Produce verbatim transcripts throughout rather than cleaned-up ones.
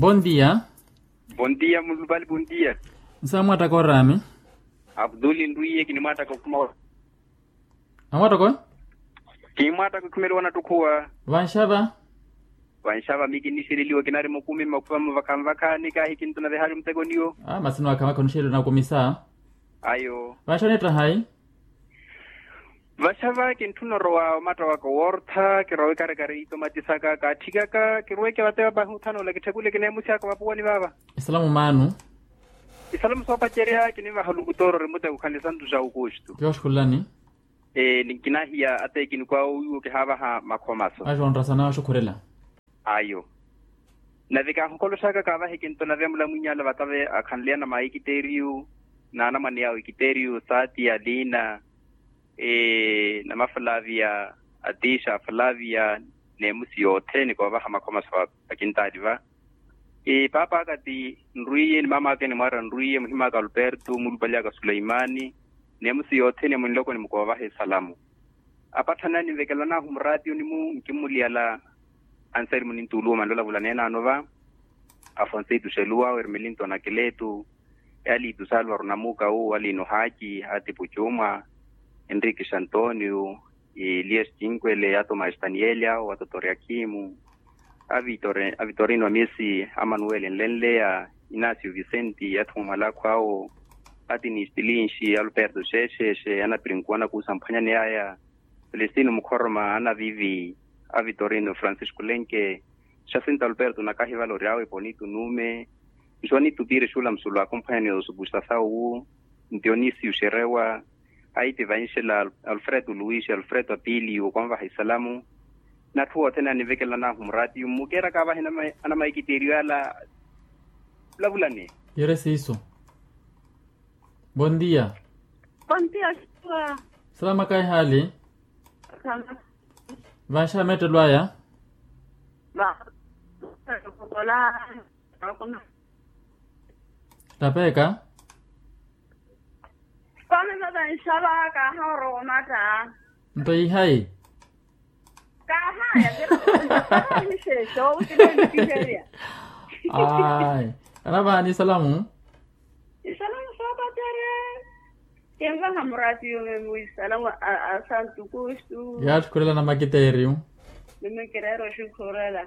Bondia. Bondia mulupali bondia. Nsa mwattaka oraami. Abduli nrwiye kinimwattaka okhuma. Amwattaka oyo. Kinimwattaka okhumeliwa nattukhuwa. Vanxava. Vanxava mi kinixeleliwa kinari mukumi mmakhuvamo vakhanvakha nikaahi kintuna vihali muteko niyo. Masi niwakhanvakha onixeleliwa nakumisa. Ayo. Vanxava nittahayi. Vaxava kintthuna orowa omatta waka owortha kirowa ikarekare itomatisaka kaatthikaka kiruweke vatepa pahi othanula kitthekule kineemusi aka vapuwani vaava. Esalamu maanu. Esalamu soopacerya kinivaha olukutoro ori muteko khanisantu xa aukustu. Kioxukhulani. Ee ninkinahiya ate kinikwaawo wiwo kihaavaha makhomaso. Axonrasana axukhurela. Ayo. Nave kaahokoloxaka kaavaha ekinto nave amulamwiny'ala vatave akhanleyana maikiteeriyu n'anamwane awe ikiteeriyu saati aliina. Namaflavia atiixa flavia n'emusi yothene koovaha makhomaso akintaali va. Paapa aka ti nrwiye ni maama aka enimwaara nrwiye muhim'aka alperto mulupali aka suleimani. N'emusi yothene munloko nimukoovaha esalamu. Apatthani aninvekelanahu muraatiyoni-mu nkimmuliyala. Anseri munintuluwa manlolavula neenaano va. Afonseito xeluwa awe ermelinto anakeleto. Ealitu salvaro namuka wu alino haki atipu cumwa. Enrique xantonio. Elias cinkwele atomas daniel awo atotoriakimu. Avitorino amisi amanuel enlenleya. Inasio vicenti athuma malakho awo. Atinis tilinxi alperto xeexeexe anapirinkuwa anakuusa mphwanyaneyaya. Celestino mukhoroma anavivi. Avitorino francisco lenke. Xasinto alperto nakahivala ori awe ponito nume. Nxuwanito piiri xuula musulu akumphwanyaneya osupusta sawu. Ntionisio xerewa. Aiti vanxela alfredo luis alfredo apiliyo okonvaha esalamu. N'atthu othene anivekelanahu muraatiyo mmukeeraka avahi anamaikiteeriyo ala. Vulavulani. Yere siiso. Bondia. Bondia. Salama kaihali. Vanxava meettelo aya. Tapeeka. Koomi vavanxava kaaha orowa omatta. Nto ihayi. Kaahaya. Kaahaya. Ayi. Anavaani esalamu. Esalamu soopatere. Kenvaha muraatiyo memu esalamu a santu kustu. Yaatthukhurela namakiteeriyo. Memu kireera oxukhurela.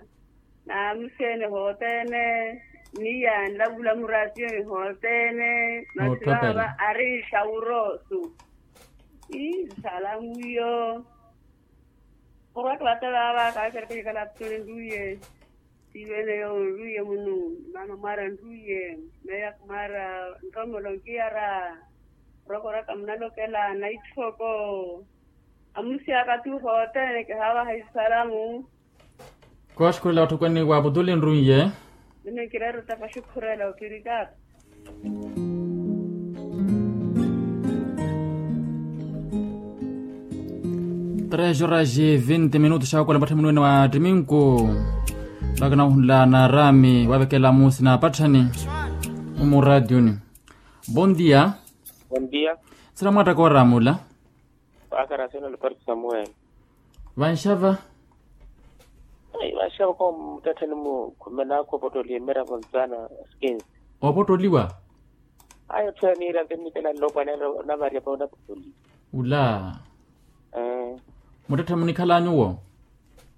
Naamuxeene hothene. Ni yanlavula muraatiyoni hothene. Masi vaava ari xawurosu. Ii salamu iyo. Orwaka vate vaava kaakereke kikala aputoni nruiye. Tiiveneyo nruiye munu. Maama mwaara nruiye. Meya kumwaara nromolo nkiyara. Orwaka orwaka munalokela naitthoko. Amusi aka tu hothene kihaavaha esalamu. Kooxukhurela watthukweni wa aputuli nrunye. Nime kireera ottapa oxukhurela opirikaka. Tres horas e vinte minutos xawakola mpatthani munuwene wa ttiminku. Vakana ohunla naarami wavekela musi na apatthani. Mumuraationi. Bondia. Bondia. Sira mwattaka oramula. Paakara sina luparti samuel. Vanxava. Vanxava ko muttatthani mu khumena akhu opottoliwa emiravo ntsana. Skin. Opottoliwa. Ayo tthwera niira nte nnikela nlopwana navaryapa onapottoliwa. Ula. Muttatthani munikhala nyuwo.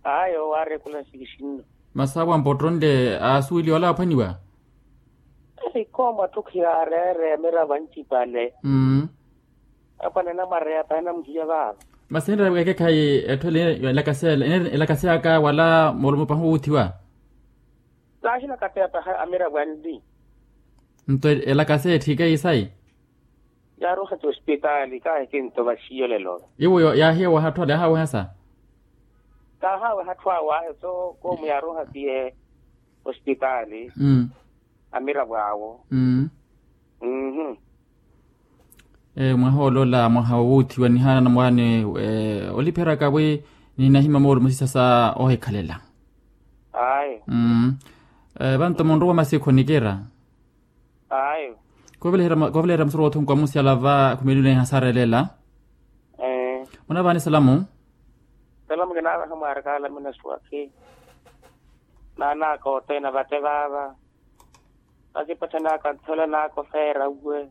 Ayo waarekula nsikixinno. Masi awo ampottonle aasuweliwa wala aphwaniwa. Ikoomo atthu khiyaareere emiravo ancipale. Apwanena mwareya pahina muhiya vaava. Masi enreera wekekhayi etthu ele elakaseya aka wala mulumo pahi wuuthiwa. Kaaxilakaseya pahi amiravo anli. Nto elakaseya etthike isayi. Yaaruha ti ospitaali kaahi kinto vaxiyo lelo. Iwo yaahiya wahatthu ale ahaaweha sa. Kaahaaweha atthu awo ayo so koomu yaaruha tiye. Ospitaali. Amiravo awo. Mwaha olola mwaha wowuuthiwa nihaana namwaani. Olipheraka wi ninahima moolumo sisa sa ohikhalela. Ayo. Vanto munrowa masikhu nikira. Ayo. Kovelehera musoro wothunku amusyala va khumelineha sarelela. Munavaani salamu. Salamu kinaavaha mwaarakaala minasuwakhi. Naanaka othene avate vaava. Masi epatthani aka nthola naaka ofeera uwe.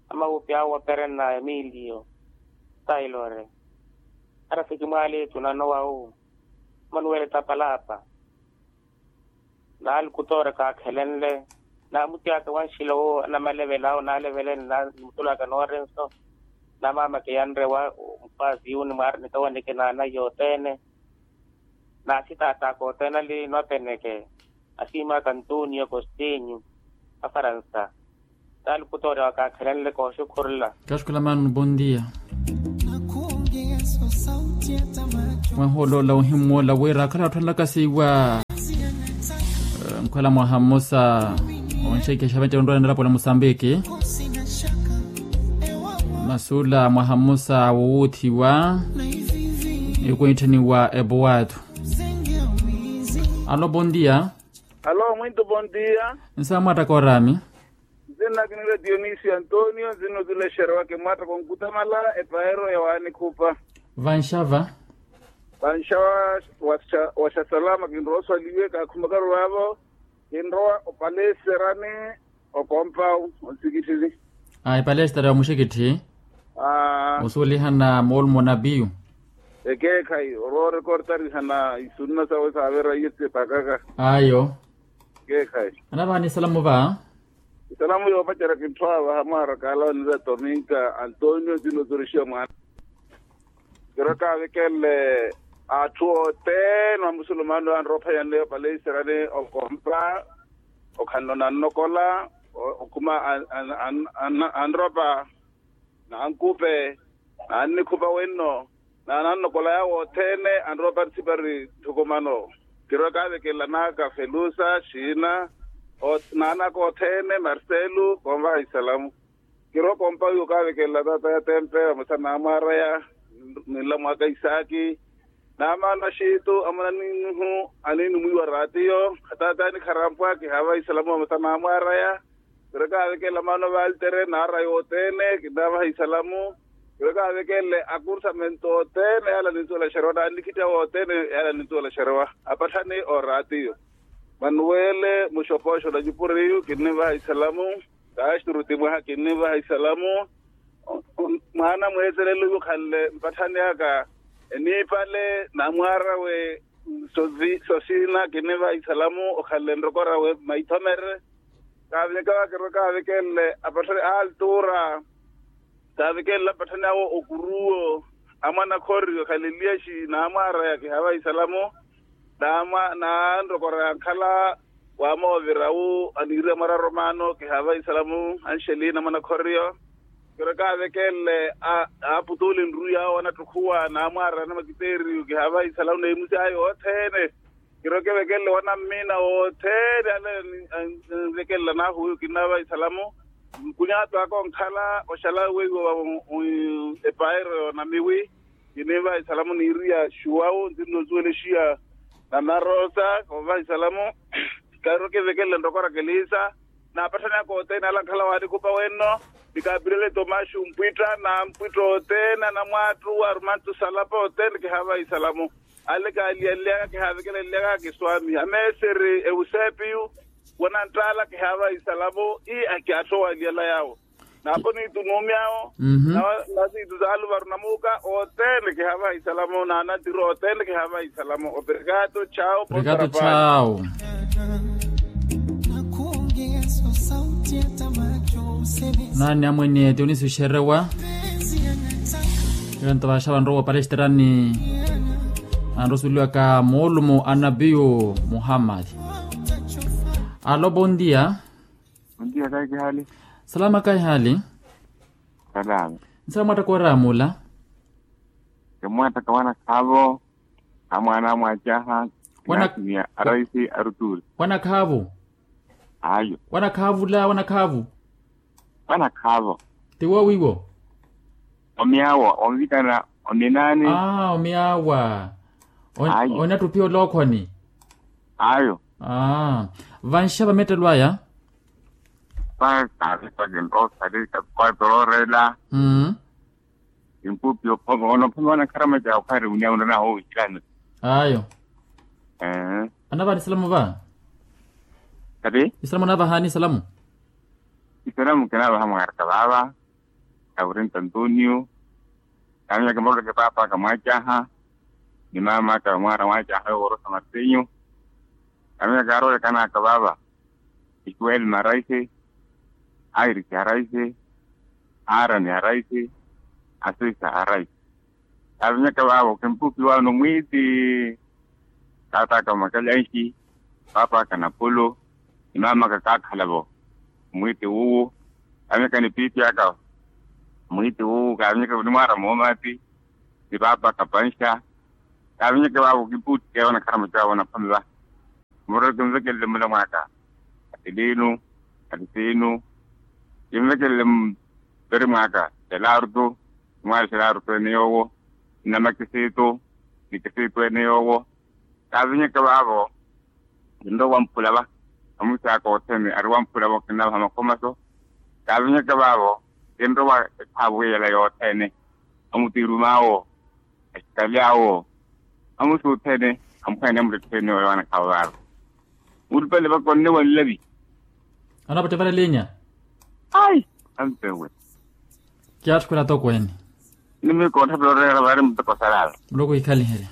Amawupi awo waperena emiliyo tailore. Ara sikimwaali tunano wawu manuwele tapalaapa. Naalukutoore kaakhelenle. Naamutiyaka wanxila owo anamalevela awo naalevele nimutulaka noorenso. Namamake yanrewa mpaasi yuni mwaari nikawaneke naana yothene. Naasitaataka othene ali nwapeneke. Asiimaka antonio costinho afaransa. Taali kutoorya wakaakhelenle kooxukhurula. Kaxukhula mano bondia. Mwaha oloola ohimmoola wira akhala atthu anlakasiwa. Nkhwela mwaha mmosa onxekexa vente onrowa nelapo la mosambiki. Masuula mwaha mmosa wowuuthiwa. Ikuitthaniwa epowaathu. Alo bondia. Alo mwintu bondia. Nsa mwaattaka oraami. Nzinna kinira dionisio antonio nzinna otulexerewa kimwaattaka onkutamala epaero ya wanikhupa. Vanxava. Vanxava. Waxa salama kinrowa oswaliwe kaakhumakaru vaavo. Kinrowa opalesterani okompawu onsikitthini. Ayi palestere ya muxikitthi. Osuulihana moolumo na piyu. Ekeekhayi oroorekortarihana isunna sawe saavera iye sepakaka. Ayo. Ekeekhayi. Anavaani isalamu va. Isalamu yoopacerya kintthu avaha mwaara kaala onira tominka antonio ntino oturexiwa mwaana. Kiro kaavekenle atthu othene amusulumano anrowa ophayanleyo palesterani okompa. Okhanle onannokola okhuma anropa nankupe nannikhupa wenno. Naanannokola yaawo othene anrowa oparisipari nthukumano. Kiro kaavekenle anaaka felusa xiina naanaka othene marcelo konvaha isalamu. Kirowa kompa wiwo kaavekelela taata ya tempe vamosa naamwaaraya. Ninla mwaka isaaki naamaana xiitu amuna ninuhu aniinumwiwa raatiyo. Ataata yanikharampa kihaavaha isalamu vamosa naamwaaraya. Kirowa kaavekelela maana valtere naaraya othene kinnavaha isalamu. Kirowa kaavekelela akursamento othene yaala nintuwela xerewa naannikhittya wothene yaala nintuwela xerewa apatthani oraatiyo. Manuwele muxopoxo na nyupuriyu kinnivaha isalamu. Kaxturuti mwaha kinnivaha isalamu. Mwaana mweetelelo iwo okhanle mpatthani aka eniipale namwaarawe sosiina kinnivaha isalamu okhanle nrokorawe maithomere. Kaavinyaka vakirwe kaavikenle apatthani altura. Kaavikenle apatthani awo okuruwo amwanakhoriyo khaleliyaxi naamwaaraya kihaavaha isalamu. Naanrokora yankhala waamoovira wu aniiriya mwararo maano kihaavaha isalamu anxelina mwana khoriyo. Kiro kaavekenle aaputuule nruwi awo anattukhuwa naamwaarana makiteeriyo kihaavaha isalamu neemusi ayo othene. Kiro kevekenle wanammiina wothene ale anvekenle anahuwiyo kinnaavaha isalamu. Nkunyaatu aka onkhala oxala weiwo epaero yoonamiwi. Kinivaha isalamu niiriya xuwawu nzinno osuwelexiya na narosa kovaha isalamu. Kairo kivekenle ntoko rakelisa naapatthani aka othene ale ankhala waanikhupa wenno. Ni kapirele tomaxu mpwitta na mpwitta othene anamwaattu arumantu salapa othene kihaavaha isalamu. Ale kaaliyaliyaka kihaavekeleliyaka kiswami ameeseri eusepiyu. Wananttaala kihaavaha isalamu ii akiatthowaliyala yaawo. Naapo niitu nuumi awo. Nasiitu saaluvaru namuuka othene kihaavaha isalamu naanatiro othene kihaavaha isalamu operekato chawo. Operekato chawo. Naani amwene tiunisi oxerewa. Eyo nto vaaxa vanrowa opalesiterani. Anrosuweliwaka moolumo anapiyu muhammadi. Alo bondia. Ontiya kaikihali. Salama kaihali. Salama. Nsa mwaattaka oraamula. Kimwaattaka wanakhaavo. Amwaana amwaacaha. Kinasimiya araisi aruturi. Wanakhaavo. Ayo. Wanakhaavula wanakhaavo. Wanakhaavo. Tiwo wiwo. Omyaawa onvikana ominaani. Aa omyaawa. Onattupiya olookhoni. Ayo. Aa vanxa vamettelo aya. Paakari pakinroosari kakukwatoroorela. Impupi ophoma onophoma onakharamaca okhari unia unanaho wisilani. Ayo. Anavaanisela muva. Kati isalamu naavahani isalamu. Isalamu kinaavaha mwaraka vaava. Awirinta antonio. Kaaminyaka muruleke paapa kamwacaha ni maama aka mwaara mwacaha yoworosa martinyu. Kaaminyaka arolekanaka vaava. Isuweli maraisi. Airisi araisi. Aarani araisi. Asisa araisi. Kaavinyaka vaavo kimpukiwano mwiiti. Taataka mwakalyanxi. Paapaka napulu. Ni maamaka kaakhalavo. Mwiiti wuwu. Kaavinyaka ni piipi aka. Mwiiti wuwu kaavinyaka ni mwaara moomati. Ni paapaka panxa. Kaavinyaka vaavo kimpuuti keevo nakharamaca vaavo naphome va. Murelo kimvekelele mula mwaaka. Atiliinu. Atisiinu. Kimvekelele mperi mwaaka. Xelarutu. Mwaari xelarutu ene yoowo. Nnamakisiitu. Nikisiitu ene yoowo. Kaavinyaka vaavo. Kinrowa wamphula va. Amusi aka othene ari wamphula va okinavaha makhomaso. Kaavinyaka vaavo. Kinrowa ekhaavu yela yothene. Amutiirumaawo. Axikali awo. Amusi othene. Amukhwene amuletthene oyo anakhaavu vaavo. Mulupale vaka onne wa nlavi. Anapatta vale linya. Ai. Ampewe. Kiyaatthukula tokweene. Nimikootthapela oreera vaari muteko salala. Muloko ikhaliherya.